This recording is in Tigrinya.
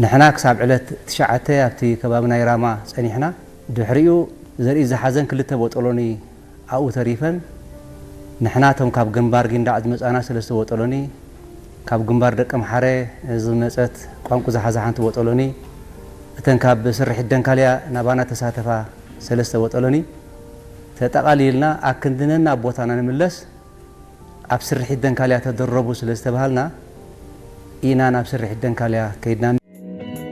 ንሕና ክሳብ ዕለት ትሽዓተ ኣብቲ ከባቢ ናይ ራማ ጸኒሕና። ድሕሪኡ ዘርኢ ዝሓዘን ክልተ ቦጦሎኒ ኣብኡ ተሪፈን። ንሕና እቶም ካብ ግንባር ጊንዳዕ ዝመጻና ሰለስተ ቦጦሎኒ፣ ካብ ግንባር ደቀምሓረ ዝመጸት ቋንቁ ዝሓዘ ሓንቲ ቦጦሎኒ፣ እተን ካብ ስርሒት ደንካልያ ናባና ተሳተፋ ሰለስተ ቦጦሎኒ ተጠቓሊልና ኣክንድነና ኣብ ቦታና ንምለስ ኣብ ስርሒት ደንካልያ ተደረቡ ስለ ዝተባሃልና ኢና ናብ ስርሒት ደንካልያ ከይድና።